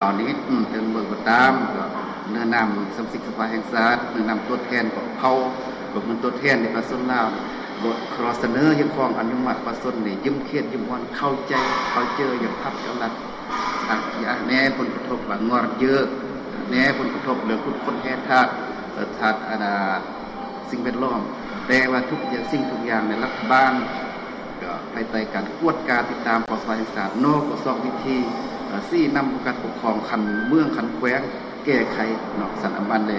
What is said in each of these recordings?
ຕອນນີ້ເຖິງເບິ່ງກໍຕາມ ກໍໃນນາມສະມາຊິກສະພາແຫ່ງຊາດ ໃນນາມຕົວແທນຂອງເຜົ່າ ກໍເປັນຕົວແທນໃນປະຊາຊົນລາວ ກໍຂໍສະເໜີຮຽກຮ້ອງອະນຸມັດປະຊາຊົນໃຫ້ຢືມເຂດຢືມບ່ອນ ເຂົ້າໃຈເຂົ້າເຈີຢ່າງພາກລັດ ອາ ແນ່ຜົນກະທົບວ່າງອນເຢີ ແນ່ຜົນກະທົບເລື່ອງຂຸດຄົ້ນແຮ່ທາດ ທາດອັນນ່າ ສິ່ງແວດລ້ອມ ແຕ່ວ່າທຸກຢ່າງ ສິ່ງທຸກຢ່າງໃນລັດຖະບານ ກໍພາຍໃຕ້ການກວດກາຕິດຕາມຂອງສະພາແຫ່ງຊາດເນາະ ກໍຊອກວິທີ ເອີ ຊີ້ນຳຂອງການປົກຄອງຂັ້ນເມືອງຂັ້ນແຂວງແກ້ໄຂເນາະ ຊັ້ນອຳບັນແລ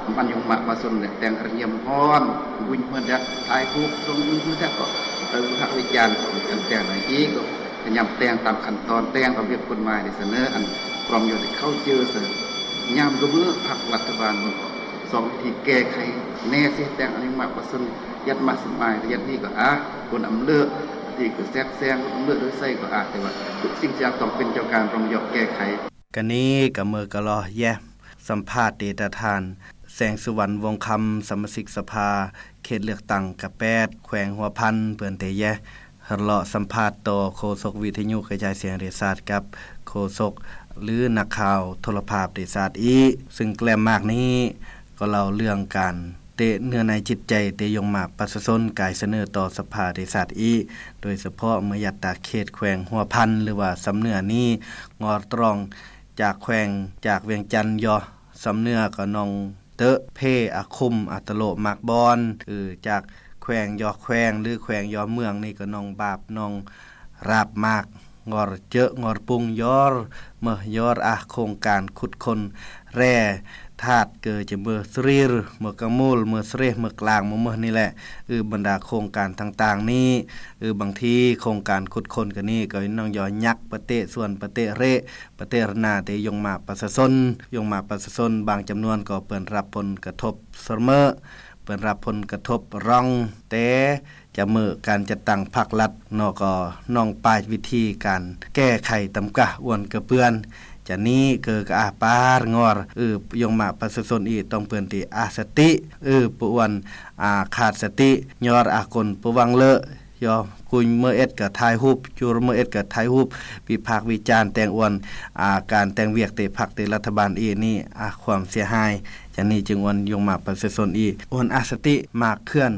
ອຳບັນຍົງມະປະຊາຊົນແລ ແຕ່ງກະລຽມຮ້ອນ ບຸນເຮືອນແດດ ຖ່າຍຮູບສົ່ງບຸນເຮືອນແດດ ກໍເອີ ວິພາກວິຈານ ກໍມີການແຕ່ງໃນອີກ ກໍພະຍາຍາມແຕ່ງຕາມຂັ້ນຕອນ ແຕ່ງຕາມລະບຽບກົດໝາຍ ໄດ້ສະເໜີອັນ ພວກເຮົາໄດ້ເຂົ້າເຈີ ຍາມກໍເມື່ອພັກລັດຖະບານ ກໍຊອກວິທີແກ້ໄຂ ແນ່ຊິແຕ່ງອະນຸມັດປະຊາຊົນ ຍັດມາສະໝາຍ ຍັດນີ້ກໍອາ ຄົນອຳເລີດ ທີ່ກໍແຊກແຊງ ອຳເລີດໂດຍໃສກໍອາ ແຕ່ວ່າທຸກສິ່ງທຸກຢ່າງຕ້ອງເປັນເຈົ້າການ ຕ້ອງຍອມແກ້ໄຂ. ກະນີ້ກະເມີກະລໍແຍ ສຳພາດເດຕາທ່ານ ແສງສຸວັນ ວົງຄຳ ສະມາຊິກສະພາເຂດເລືອກຕັ້ງກະແປດ ແຂວງຫົວພັນ ເພິ່ນເດແຍ ເລາະສຳພາດຕໍ່ໂຄສົກວິທະຍຸກະຈາຍສຽງແຫ່ງຊາດ ກັບໂຄສົກ ຫຼື ນັກຂ່າວໂທລະພາບແຫ່ງຊາດອີກ ຊຶ່ງແກລມມາກນີ້ ກໍເລົ່າເລື່ອງການເຕະເນື້ອໃນຈິດໃຈ ເຕະຍົງມະປະຊາຊົນ ກາຍສະເໜີຕໍ່ສະພາແຫ່ງຊາດອີກ ໂດຍສະເພາະເມືອງຍາດຕາເຂດແຂວງຫົວພັນ ຫຼືວ່າສຳເໜືອນີ້ ງອດຕຣອງຈາກແຂວງ ຈາກວຽງຈັນຍໍ ສຳເໜືອກໍໜອງເຕີ ເພ ອາຄຸມ ອາຕະໂລ ໝາກບອນ ຈາກແຂວງຍໍແຂວງ ຫຼື ແຂວງຍໍເມືອງນີ້ກໍໜອງບາບ ໜອງ ຣາບມາກ ງອຣເຈີ ງອຣປຸງ ຢອຣ ເມີ ຢອຣ ອາ ໂຄງການຂຸດຄົ້ນແຮ່ທາດ ເກີຈະເມີສຣີຣ ເມີກະມູລ ເມີສເຣ ເມີກລາງ ເມີເມີນີ້ແຫຼະ ອື ບັນດາໂຄງການຕ່າງໆນີ້ ອື ບາງທີໂຄງການຂຸດຄົ້ນກະນີ້ ກໍນ້ອງຢໍຍັກ ປະເຕະສວນ ປະເຕະເຣ ປະເຕະຣະນາ ເຕະຍົງມະປະຊາຊົນ ຍົງມະປະຊາຊົນບາງຈຳນວນກໍເປີນຮັບຜົນກະທົບສະເໝີ ເປີນຮັບຜົນກະທົບຣອງ ແຕ່ ຈະເມີການຈັດຕັ້ງພັກລັດເນາະ ກໍນ້ອງປາຍວິທີການແກ້ໄຂຕຳກະອວນກະເປື້ອນ ຈະນີ້ເກີກະອາປາດງອຣ ອື ຍົງມະປະຊາຊົນອີກ ຕ້ອງເປີ້ນທີ່ອາສະຕິ ອື ປະອວນ ອາ ຂາດສະຕິ ຍອດອາກົນປະວັງເລີ ຍອກຸຍເມີເອັດກະຖ່າຍຮູບ ຈຸເມີເອັດກະຖ່າຍຮູບ ວິພາກວິຈານແຕ່ງອວນ ອາ ການແຕ່ງວຽກເຕະພັກເຕະລັດຖະບານອີກນີ້ ອາ ຄວາມເສຍຫາຍ ຈະນີ້ຈຶ່ງອວນຍົງມະປະຊາຊົນອີກ ອວນອາສະຕິ ມາກເຄື່ອນ